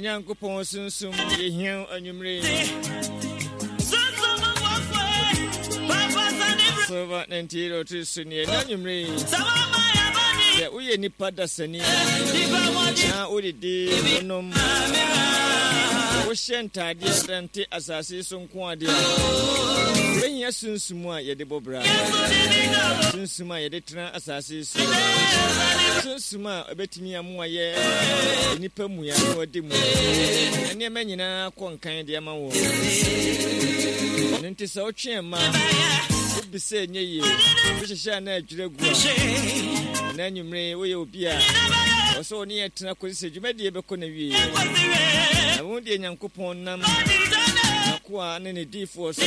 Nyankopɔn sunsum yɛhia wo anwummere yi. Silver 98.3 so neɛ na anwummere yi. Sɛ woyɛ nipa dasani na wodidi wonom wohyɛ ntaadeɛ dante asase so nko adeɛ a wobɛhia sunsum a yɛde bɔ bra sunsum a yɛde tena asase so sunsum a ɛbɛtumi amoa yɛ nnipa mua na wɔde mu na nneɛma nyinaa kɔ nkan de ama wɔn. Ɛno nti sɛ wotwe mma wobisa ɛnyɛ yie, wohyehyɛ a na adwira gu a, na anwummere woyɛ obi a wɔ sɛ wo ne yɛ tena kɔsi sɛ dwumadie bɛkɔ na wie. Na wo deɛ Nyankopɔn nam n'akoa ne ne diifoɔ so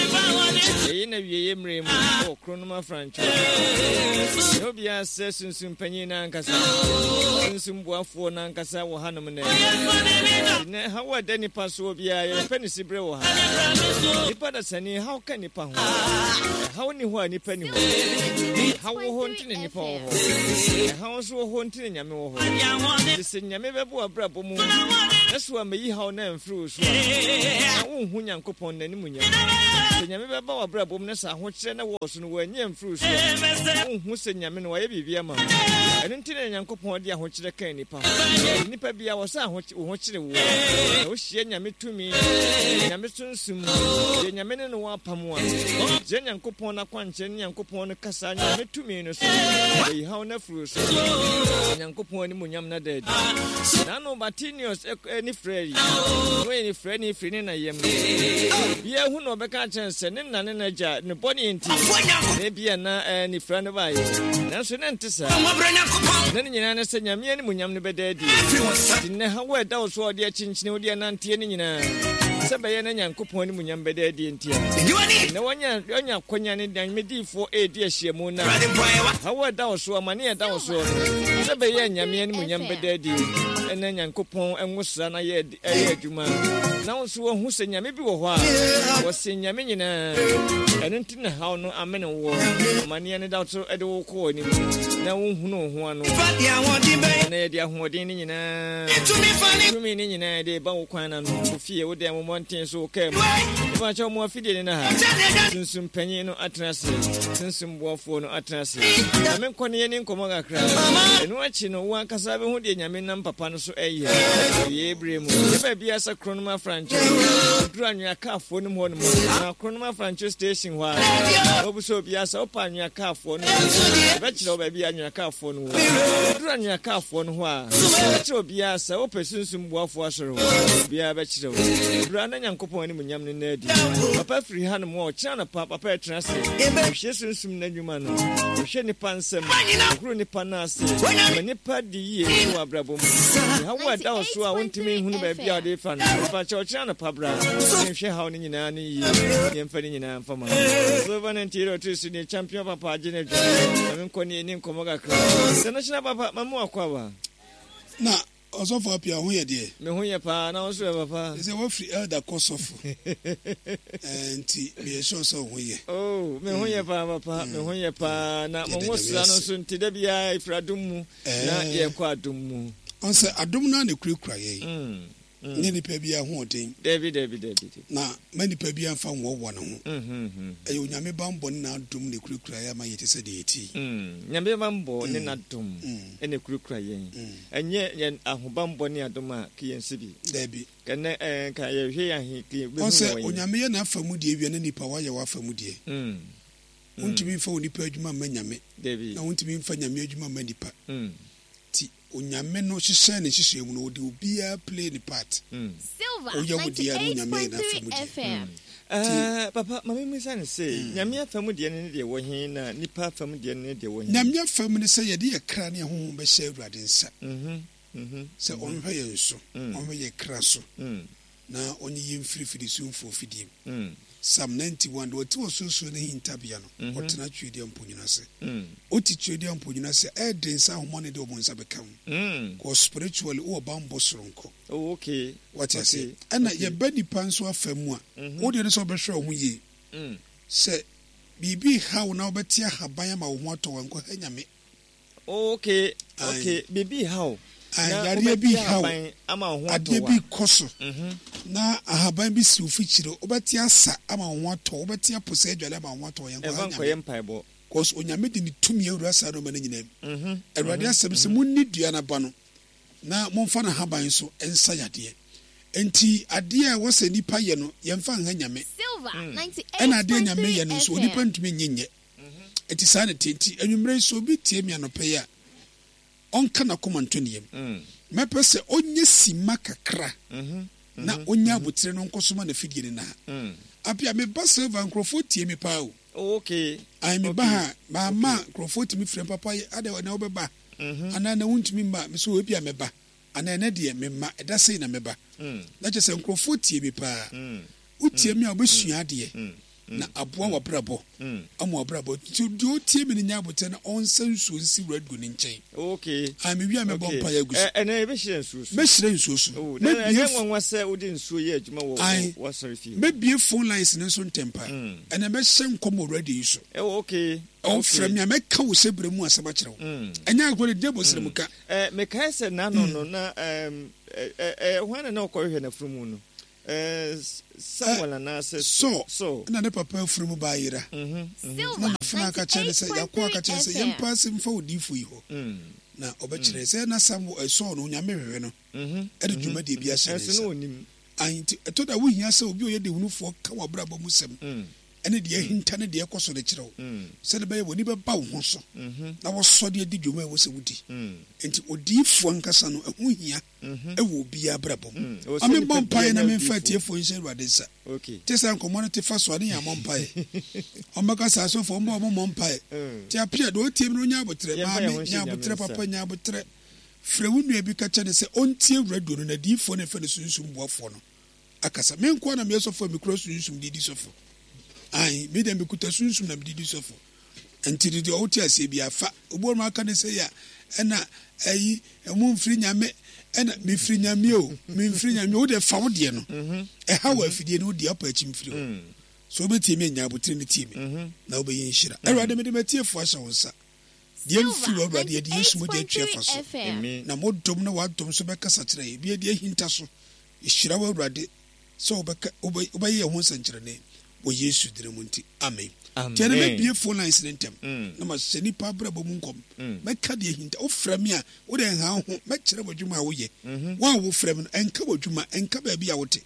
ɛyi na wieɛ mmerɛ mu wɔ kronom afrantwo. Na obiara sɛ sunsum panyin no ankasa, sunsum boafoɔ no ankasa wɔ hanom nnɛ. Nnɛ, haw a ɛda nipa soɔ biara, yɛbɛpɛ ne siberɛ wɔ ha. Nipa dasani, haw ka nipa ho. Ɛhaw nni hɔ a nipa nni hɔ. Ɛhaw wɔ hɔ nti na nipa wɔ hɔ. Ɛhaw nso wɔ hɔ nti na Nyame wɔ hɔ. Nti sɛ Nyame bɛbɔ w'abrabɔ mu na so ammɛyi haw no amfiri wo so a, na wonhu Nyankopɔn n'animuonyam. Sɛ Nyame bɛba w'abrabɔ mu na sɛ ahokyerɛ na wɔ so no wanyi amfiri wo so a, wonhu sɛ Nyame no wayɛ biribi ama wo. Ɛno nti na Nyankopɔn de ahokyerɛ kaa nnipa ho. Enti nnipa biara wɔ sɛ wo ho kyere woɔ. Na wohyia Nyame tumi, Nyame sunsum, deɛ Nyame ne no wɔ apam a, gyina Nyankopɔn n'akwankyerɛ ne Nyankopɔn no kasa, Nyame tumi no so, wayi haw no afiri wo so. Na Nyankopɔn animuonyam no ada adi. N'ano Bartimeus ne frɛ yi, na ɔyɛ nifirani firi ne na yam. Obiara hu na ɔbɛka akyerɛ no sɛ ne na ne n'agya ne bɔne nti na ebia na nifira no baeɛ. Nanso na ɛnte saa. Na ne nyinaa ne sɛ Nyame animuonyam no bɛda adi. Nti nnɛ haw a ɛda wo so a ɔde akyinkyini wode ananteɛ no nyinaa, sɛ ɛbɛyɛ na Nyankopɔn animuonyam bɛda adi nti a. Nnɛ wanya wanya akwanya ne Nyame diyifoɔ redi ahyiamu no a, haw a ɛda wo so, amane a ɛda wo soɔ no, sɛ ɛbɛyɛ a Nyame animuonyam bɛda adi na Nyankopɔn nwosra no ayɛ ɛyɛ adwuma na wo nso wahu sɛ Nyame bi wɔ hɔ a wɔsen Nyame nyinaa. Ɛno nti na haw no amene woɔ, amaneɛ no da so de wo kɔ w'anim na wonhunu wo ho ano. Na yɛde ahoɔden no nyinaa, tumi no nyinaa yɛde ba wo kwan no ano, wo fie, wo dan, wo mmɔnten so, wo kaa mu. Mepakyɛw mo afidie no na ha. Sunsum panyin no atena ase. Sunsum boafoɔ no atena ase. Ma menkɔ ne yɛni nkɔmmɔ kakra. Ɛno akyi no, wo ankasa bɛhu deɛ Nyame nam papa no so ɛyɛ. Awiei bere mu, yɛ baabi a sɛ Kronom Afrancho, oduru Anwea Kaafoɔ no mu hɔ nom a, na Kronom Afrancho station hɔ a, wɔbisa obiara sɛ wopɛ Anwea Kaafoɔ no a, yɛbɛkyerɛ wo baabi a Anwea Kaafoɔ no wɔ. Oduru Anwea Kaafoɔ no hɔ a, wɔbɛkyerɛ obiara sɛ wopɛ Sunsum Boafoɔ Asɔre hɔ, obiara bɛkyerɛ wo. Bra na Nyankopɔn animuonyam no nna adi. Papa firi hanom a, ɔkyena anɔpa, papa ɛtena ase, ɔhwie Sunsum no adwuma no, ɔhwɛ nnipa nsam, ɔhoro nnipa nan ase, ma nnipa di yie wɔ abrabɔ mu. Haw a ɛda wo so a wontumi nhunu baabi a wɔde refa no, fa kyɛ ɔkyena anɔpa bra na yɛnhwɛ haw no nyinaa no yie na yɛmfa ne nyinaa mfa ma. Silver ne Ntiero tiri so ne champion papa agye no adwa. Ma menkɔ ne yɛni nkɔmmɔ kakra. International papa, ma mu akɔ aba. Na Ɔsɔfo Appiah, wo ho yɛ deɛ? Me ho yɛ paa, na wo nso ɛ papa? Sɛ wafiri elder kɔ sɔfo, eh, nti meyɛ sure sɛ wo ho yɛ. Oh, me ho yɛ paa papa, me ho yɛ paa, na mo ho sra no nso nti da biara ɛfiri adom mu. Na yɛkɔ adom mu. Ɔn sɛ adom no ara na ɛkurakura yɛn. Nyɛ nipa biara ahoɔden. Dabi, dabi, dabi. Na ma nipa biara mfa nhoahoa ne ho. Ɛyɛ Onyame banbɔ ne n'adom na ɛkurakura yɛn ama yɛte sɛ deɛ yɛte yi. Nyame banbɔ ne n'adom na ɛkurakura yɛn. Ɛnyɛ yɛn ahobanbɔ ne adom a, ka yɛn si bi. Dabi. Ɛnɛ ɛɛ nka yɛhwɛ yɛn ahe, ka yɛbɛhu Ɔn sɛ wɔ yɛn. Onyame yɛ n'afa mu deɛ wie na nipa wayɛ w'afa mu deɛ. Wontumi mfa onipa adwuma mma Nyame, na wontumi mfa Nyame adwuma mma nipa. Nti Onyame no hyehyɛɛ ne nhyehyɛɛ mu no, ɔde obiara play ne part. Woyɛ wo deɛ a na Onyame ayɛ n'afa mu deɛ. Nti. Papa, ma me mmisa no sei, Nyame afa mu deɛ no ne deɛ wɔ he, na nipa afa mu deɛ no ne deɛ wɔ he? Nyame afa mu ne sɛ yɛde yɛ kra ne yɛn honhom bɛhyɛ Awurade nsa, sɛ ɔnhwɛ yɛn so, ɔnhwɛ yɛn kra so. Na ɔnyi yɛn mfiri firisumfoɔ fidie mu. Psalm 91, Deɛ ɔte ɔsorosoro ne hintabea no, ɔtena tweaduaa mponini ase. Wote tweaduaa mponini ase a, ɛyɛ den sɛ ahomɔne de wɔn nsa bɛka wo. Cause spiritually, wowɔ bammɔ soronko. Oh, okay. Wate aseɛ? Ɛna yɛba nipa nso afa mu a, wo deɛ ne sɛ wobɛhwɛ wo ho yie. Sɛ biribi reha wo na wobɛte ahaban ama wo ho atɔ wo a, nkɔha Nyame. Okay, okay, biribi reha wo. Na Yareɛ bi wobɛte reha wo, ahaban ama wo ho atɔ adeɛ wo bi a. rekɔ so, na ahaban bi si wo fikyire, wobɛte asa ama wo ho atɔ wo, wobɛte apo sɛ adwale ama wo ho atɔ wo, yɛnkɔ Ɛmfa ha nkɔyɛ Nyame. mpaebɔ. Cause Onyame de ne tumi awura saa nnoɔma no nyinaa mu. Awurade asɛm se monni dua no aba no na momfa n'ahaban nso nsa yadeɛ. Enti adeɛ a ɛwɔ sɛ nnipa yɛ no yɛmfa nha Nyame. Ɛna adeɛ a Nyame yɛ no nso onipa ntumi nye nyɛ. Enti saa na ɛteɛ. Enti anwummerɛ yi sɛ obi tie me anɔpa yi a, ɔnka n'akoma nto ne yam. Mɛpɛ sɛ ɔnyɛ simma kakra na ɔnya abotire no nkɔsoma n'afidie no na ha. Apia, meba Silver nkurɔfoɔ tie me paa o. Oh, okay. Ae, meba ha, mamma nkurɔfoɔ tumi frɛ me, papa, adɛn ɛnɛ wobɛba? Anaa ɛnɛ wontumi mma? Me so ebia mɛba. Anaa ɛnɛ deɛ memma, ɛda sei na mɛba. Na kyerɛ sɛ nkurɔfoɔ tie me paa. Wotie me a, wobɛsua adeɛ na aboa w'abrabɔ ama w'abrabɔ. Nti deɛ ɔtie me no nya aboterɛ na ɔnsa nsuo nsi radio no nkyɛn. Okay. Ah, mewie a mɛbɔ mpaeɛ agu so. Ɛnɛ yɛbɛhyira nsuo so. Mɛhyira nsuo so. Oh, na ɛnyɛ nwanwa sɛ wode nsuo yɛ adwuma wɔ w'asɔre fie. Mɛbie phone lines no nso ntɛm pa. Ɛnɛ mɛhyɛ nkɔm wɔ radio yi so. Oh, okay. Ɔfrɛ me a mɛka wo hyɛbrɛ mu asɛm akyerɛ wo. Ɛnyɛ agorɔ de deɛ bɔ srɛ mu ka. Mekae sɛ n'ano no na hwan na na ɔkɔhwehwɛ n'afunumu no? Samuel anaasɛ Saul. Saul na ne papa afunumu ba ayera. Na n'afenaa ka kyerɛɛ no sɛ, Y'akoa ka kyerɛɛ no sɛ, yɛmpa ase mfa odiyifo yi hɔ, na ɔbɛkyerɛ yɛn. Sɛ na Samuel, Saul no, Onyame hwehwɛ no de dwumadie bi ahyɛ ne nsa. Ahe nti, ɛtɔ da a wohia sɛ obi a ɔyɛ dehunufoɔ ka w'abrabɔ mu sɛm ne deɛ ahinta ne deɛ ɛkɔ so no kyerɛ wo, sɛdeɛ ɛbɛyɛ w'ani bɛba wo ho so na woasɔ de adi dwuma a ɛwɔ sɛ wodi. Enti odiyifoɔ ankasa no, ɛho hia wɔ obiara abrabɔ mu. Ma memmɔ mpaeɛ na memfa atiefoɔ nhyɛ Awurade nsa. Te sɛ nkɔmmɔ no te fa so a, ne yɛn ammɔ mpaeɛ. Wɔbɛka sɛ asɔfoɔ mmɔ wɔn mmɔ mpaeɛ. Te apia deɛ ɔtie mi no ɔnya aboterɛ. Maame, nya aboterɛ. Papa, nya aboterɛ. Frɛ wo nua bi ka kyerɛ no sɛ ɔntie radio no na adiyifoɔ no a yɛfrɛ no sunsum boafoɔ no akasa. Me nkoa na meyɛ sɔfo a mekura sunsum de di sɔfo. Ae, me deɛ mekuta sunsum na mede di sɔfo. Nti no deɛ ɔwote aseɛ biara fa. Obi wɔ nom aka ne sɛ ya ɛna ayi ɛmo mfiri nyame ɛna mefiri nyame o memfiri nyame wo deɛ fa wo deɛ no mhm. ɛha wɔ afidie no wo deɛ ɔpɛ akyi mfiri hɔ mm. so wobɛtie me anya abotire no tie me mhm. na wobɛyɛ nhyira mm. Awurade mede matiefoɔ ahyɛ wo nsa deɛ mfiri wɔ Awurade yɛde Yesu mogya atwi afa so na mo dom na w'adom so bɛkasa kyerɛ yɛ bi yɛde ahinta so yɛhyira wo Awurade sɛ wobɛka wobɛyɛ yɛn ho nsɛnkyerɛnne wɔ Yesu dini mu nti, amen. Nti ɛnɛ mɛbie phone lines no ntɛm mm. na mahyɛ nipa abrabɔ mu nkɔm. Mm. Mɛka deɛ hinta. Wofrɛ me a, wode nha wo ho. Mɛkyerɛ w'adwuma a woyɛ. Mm-hmm. Wo a wofrɛ me no, ɛnka w'adwuma, ɛnka baabi a wote.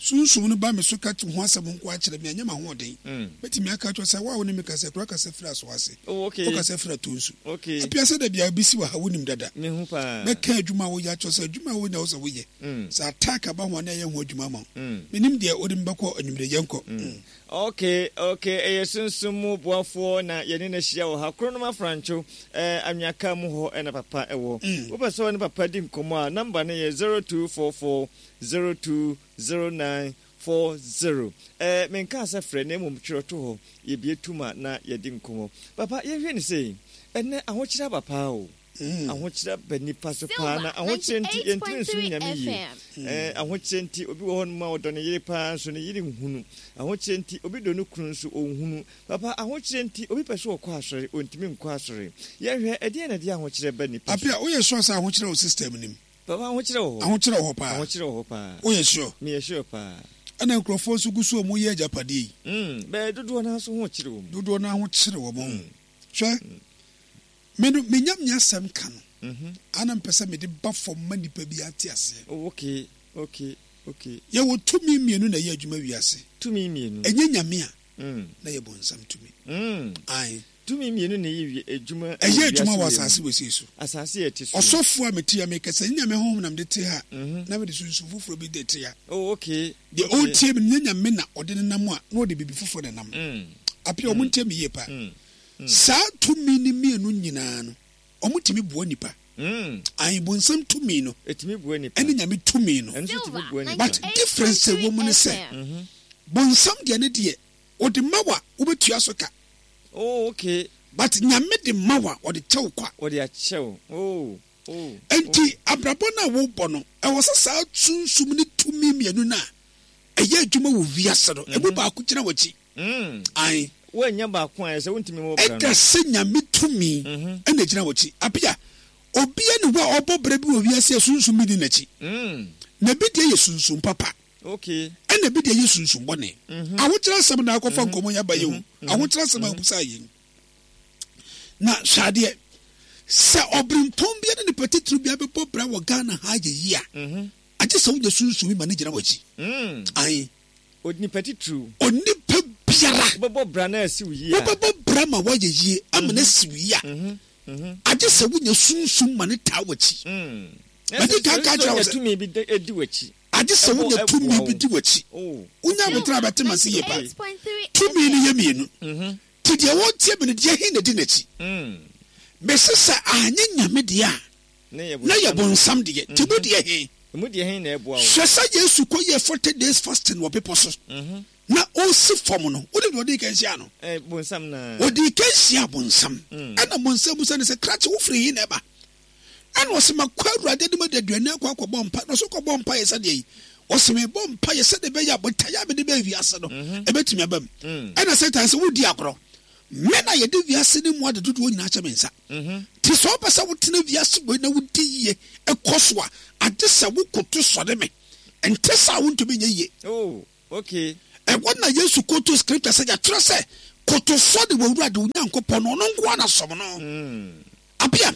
Sunsum no ba me so ka ho asɛm nko akyerɛ me a, ɛnyɛ m'ahoɔden. Mm. Mɛtumi aka akyerɛ sɛ wo a wo ne me kasa kura kasa firi aso ase. Oh, Wokasa firi ato nsu. Apia sɛ da biara bi si wɔ ha wonim dada. Mɛka adwuma a woyɛ akyerɛ sɛ adwuma a wonya wo sɛ woyɛ. Sɛ attack aba ho a na ɛyɛ ho adwuma ama wo. Menim deɛ wode me bɛkɔ anwummere yɛnkɔ. Ok ok ɛyɛ sunsum mu boafoɔ na yɛne no ahyia wɔ ha Kronom Afrantwo eh, Anweaka mu hɔ na papa wɔ. Wopɛ sɛ ɔne papa di nkɔmmɔ a number no yɛ 0244 0209 40. Eh, menkaa sɛ frɛ na mmom twerɛ to hɔ, yɛbue tom a na yɛadi nkɔmmɔ. Papa yɛnhwɛ no sei, ɛnnɛ ahokyerɛ aba paa o. Ahokyerɛ aba nnipa so paa, na ahokyerɛ nti yɛntumi nsom Nyame yie. Ɛɛ, ahokyerɛ nti obi wɔ hɔnom a ɔdɔ ne yere paa nso ne yere nhunu. Ahokyerɛ nti obi dɔ ne kunu nso ɔnhunu. Papa, ahokyerɛ nti obi pɛ sɛ ɔkɔ asɔre, ɔntumi nkɔ asɔre. Yɛnhwɛ, ɛdeɛn na ɛde ahokyerɛ ba nnipa so? Apia, woyɛ sure sɛ ahokyerɛ wɔ system no mu? Papa, ahokyerɛ wɔ hɔ. Ahokyerɛ wɔ hɔ paa. Ahokyerɛ wɔ hɔ paa. Woyɛ sure? Meyɛ sure paa. Ɛna nkurɔfoɔ nso gu so a wɔyɛ agyapadeɛ yi. Mm, bɛɛ dodoɔ no ara nso ho kyere wɔn. Dodoɔ no ara ho kyere wɔn. Hwɛ. Me no, me Nyame asɛm ka no, a na mepɛ sɛ mede ba fam ma nnipa bi ate aseɛ. Oh, okay, okay, okay. Yɛwɔ tumi mmienu na ɛyɛ adwuma wiase. Tumi mmienu. Ɛnyɛ Nyame a, na yɛ bonsam tumi. Ae. Tumi mmienu na ɛyɛ adwuma wɔ Ɛyɛ adwuma wɔ asase wesei so. Asase a ɛte so. Ɔsɔfoɔ a mete ha mekasa, ɛnyɛ Nyame honhom na mede te ha, na mede sunsum foforɔ bi de te ha. Oh, okay. Deɛ ɔretie me no, nyɛ Nyame na ɔde no nam a, na ɔde biribi foforɔ na ɛnam. Apia, wɔn ntie me yie paa. Saa tumi no mmienu nyinaa no, wɔtumi boa nnipa. Ae, bonsam tumi no ɛne Nyame tumi no. But difference a ɛwɔ mu ne sɛ, bonsam deɛ ne deɛ, ɔde ma wo a, wobɛtua so ka. Oh, okay. But Nyame de ma wo a, ɔde kyɛ wo kwa. Ɔde akyɛ wo. Oh, oh. Enti abrabɔ no a wobɔ no, ɛwɔ sɛ saa sunsum ne tumi mmienu no a ɛyɛ adwuma wɔ wiase no, ɛmu baako gyina w'akyi. Ae. Woannya baako a, ɛsɛ wontumi mmɔ bra no. Ɛda sɛ Nyame tumi na ɛgyina w'akyi. Abia, Obia nni hɔ a ɔbɔ bra bi wɔ wiase a sunsum bi nni n'akyi. Na ebi deɛ yɛ sunsum papa, ɛna ebi deɛ yɛ sunsum bɔne. Ahokyerɛ asɛm na akɔfa nkɔmmɔ yi aba yi o. Ahokyerɛ asɛm a wobisaa yi. Na hwɛ adeɛ, sɛ ɔberempɔn bia ne nipa titiriw bia bɛbɔ bra wɔ Ghana ha ayɛ yie a, agye sɛ wonya sunsum bi ma no gyina w'akyi. Ae. Onipa titiriw. Onipa biara. Wobɛbɔ bra na asi wo yie a. Wobɛbɔ bra ma woayɛ yie ama no asi wo yie a, agye sɛ wonya sunsum ma no taa w'akyi. Madi kan ka akyerɛ wo sɛ. Tumi bi di w'akyi. Agye sɛ wonya tumi bi di w'akyi. Wonya abotire a bɛte m'ase yie paa. Tumi no yɛ mmienu. Nti deɛ ɔretie me no, deɛ he na di n'akyi? Mese sɛ anyɛ Nyame deɛ a, na yɛ bonsam deɛ. Nti mu deɛ he? Hwɛ sɛ Yesu kɔyɛɛ 40 days fasting wɔ bepɔ so, na ɔresi fam no, wonim deɛ ɔdii kan hyiaa no? Ɔdii kan hyiaa bonsam. Ɛna bonsam bisa no sɛ, Krakye, wofiri he na ɛba? Ɛna ɔse, Makɔ Awurade anim adaduanan akɔ akɔbɔ mpaeɛ. Na ɔse, Wokɔbɔɔ mpaeɛ sɛdeɛ yi? Ɔse, Mebɔ mpaeɛ sɛdeɛ ɛbɛyɛ a botaeɛ a mede baa wiase no, ɛbɛtumi aba mu. Ɛna Satan se, Wodi agorɔ. Me na yɛde wiase no mu ade dodoɔ nyinaa ahyɛ me nsa. Nti sɛ wopɛ sɛ wotena wiase wei na wodi yie kɔ so a, agye sɛ wokoto sɔre me. Ɛnte saa a wontumi nyɛ yie. Oh, okay. Ɛhɔ na Yesu koto scripture sɛ yɛatwerɛ sɛ, Koto sɔre w'Awurade wo Nyankopɔn na ɔno nko ara na som no. Abia,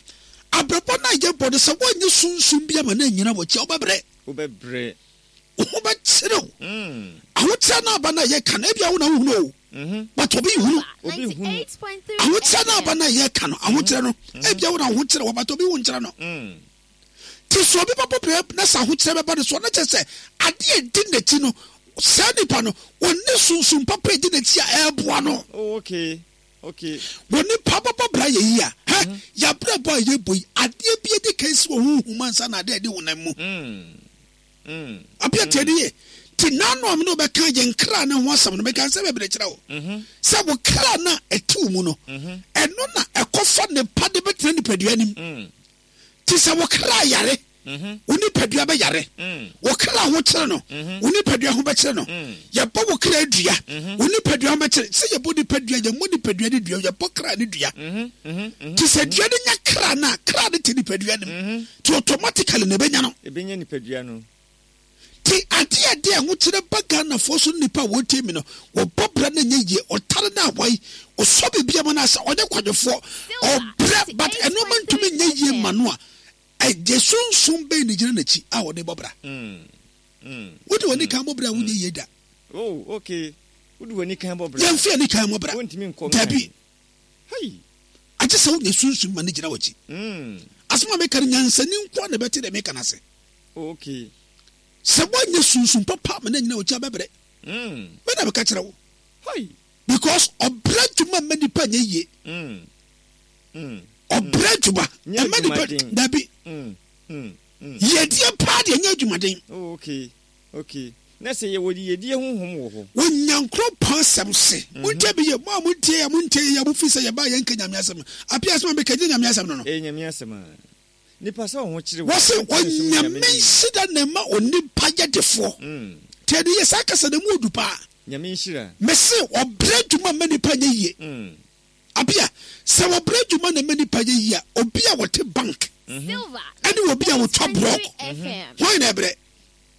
abrabɔ no a yɛbɔ no, sɛ woannye sunsum bi ama no annyina w'akyi a, wobɛbrɛ. Wobɛbrɛ. Wo ho bɛkyere wo. Ahokyerɛ no aba no a yɛka no, ebia wo na wohunu o, but obi nhunu. Obi nhunu. Ahokyerɛ no aba no a yɛka no, ahokyerɛ no, ebia wo na wo ho kyerɛ wo, but obi ho nkyerɛ no. Nti sɛ obi bɛbɔ brɛ na sɛ ahokyerɛ bɛba no so a, na kyerɛ sɛ adeɛ a ɛdi n'akyi no, saa nipa no, ɔnni sunsum papa a ɛdi n'akyi a ɛreboa no. Oh, okay. Okay. Wɔ nipa bɛbɔ bra yɛ yi a, hɛ, mm-hmm. Yɛabrabɔ a yɛbɔ yi, adeɛ bi adi kan si wɔ honhom ansa na adeɛ adi honam mu. Abia tie ne yie. Ti n'ano a mene wobɛka yɛn kra no ho asɛm no, meka nsɛm bebree kyerɛ wo. Sɛ wo kra no a ɛte wo mu no, ɛno na ɛkɔfa nepa de bɛtena nipadua nim. Te sɛ wo kra yare, wo nipadua bɛyare. Wo kra ho kyere no, wo nipadua ho bɛkyere no. Yɛbɔ wo kra dua, wo nipadua ho bɛkyere. Sɛ yɛbɔ nipadua, yɛmmɔ nipadua ne dua, yɛbɔ kra ne dua. Te sɛ dua no nya kra no a, kra no te nipadua no mu. Te automatically na ɛbɛnya no. Ɛbɛnya nipadua no. Te adeɛ a ɛde ahokyerɛ ba Ghanafoɔ so ne nipa a wɔtie mi no, wɔbɔ bra no nyɛ yie, ɔtare no awae, ɔsɔ biribi ama no asɛ ɔnyɛ kwadwofoɔ, ɔbrɛ but ɛnoɔma ntumi nyɛ yie ma no a, ɛgye sunsum bɛn na gyina n'akyi a ɔde bɔ bra? Wode w'ani kan bɔ bra a wonyɛ yie da. Oh, okay. Wode w'ani kan bɔ bra. Yɛmfa ani kan mmɔ bra. Wontumi nkɔ nkan. Dabi. Hei. Agye sɛ wonya sunsum ma no gyina w'akyi. Asɛm a meka no, nyansani nko ara na ɛbɛte deɛ meka no ase. Oh, okay. Sɛ woanyɛ sunsum papa ama no anyina w'akyi a, bɛbrɛ. Me na meka kyerɛ wo. Hei. Because ɔbrɛ adwuma mma nipa nyɛ yie. Ɔbrɛ adwuma Nyɛ mma nipa adwumaden. dabi. Yiedie paa deɛ nyɛ adwumaden. Oh, okay. Okay. Na sɛ yɛwɔ yiyedie honhom wɔ hɔ. Wɔ Nyankoropɔn asɛm se. Montie me yie, mo a montie yɛ, montie yɛ, mofi sɛ yɛbaa yɛnka Nyame asɛm. Apia asɛm a meka nyɛ Nyame asɛm no no. Ɛyɛ Nyame asɛm a. Nipa sɛ ɔho kyere wo. Wɔse Onyame nhyira na ɛma onipa yɛ defoɔ. Tie no yie, saa kasa no ɛmu odu paa. Nyame nhyira. Mese ɔbrɛ adwuma mma nipa nyɛ yie. Abia, sɛ wɔbrɛ adwuma na ɛma nipa yɛ yie a, obi a ɔte bank ɛne obi a ɔtwa blɔk, hwan na ɛbrɛ?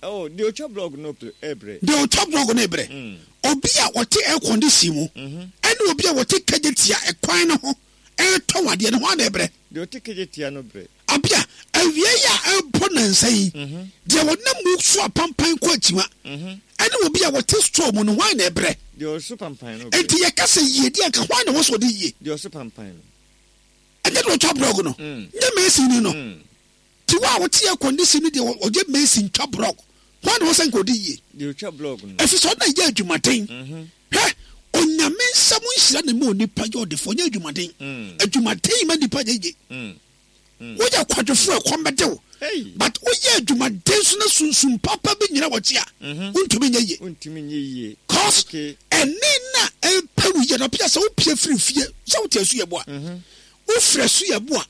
Oh, deɛ ɔtwa blɔk no ɛbrɛ. Deɛ ɔtwa blɔk no ɛbrɛ. Obi a ɔte air condition mu ɛne obi a ɔte kagyetia ɛkwan no ho ɛretɔn adeɛ no, hwan na ɛbrɛ? Deɛ ɔte kagyetia no brɛ. Abia, awia yi a ɛrebɔ nnansa yi, deɛ ɔnam mu so apampan kɔ akyiwa ɛne obi a ɔte store mu no, hwan na ɛbrɛ? Deɛ ɔso pampan no brɛ. Enti yɛka sɛ yiedie a, anka hwan na ɛwɔ sɛ ɔde yie? Deɛ ɔso pampan no. Ɛnyɛ deɛ ɔtwa blɔg no, nyɛ masonni no. Nti wo a wote air condition no deɛ ɔyɛ mason twa blɔg, hwan na ɛwɔ sɛ nka ɔde yie? Deɛ ɔtwa blɔg no. Ɛfiri sɛ ɔno na ɛyɛ adwumaden. Hwɛ, Onyame nsa mu nhyira na ɛma onipa yɛ ɔdefoɔ, nyɛ adwumaden. Adwumaden mma nipa nyɛ yie. Woyɛ kwadwofoɔ a ɛkɔm bɛde wo. But woyɛ adwumaden so na sunsum papa bi nyina wɔkye a, wontumi nyɛ yie. Wontumi nyɛ yie. Cause ɛne na ɛpɛ wo yie no, pia sɛ wopie firi fie sɛ wote asu yɛ boa. Wofiri asu yɛ boa.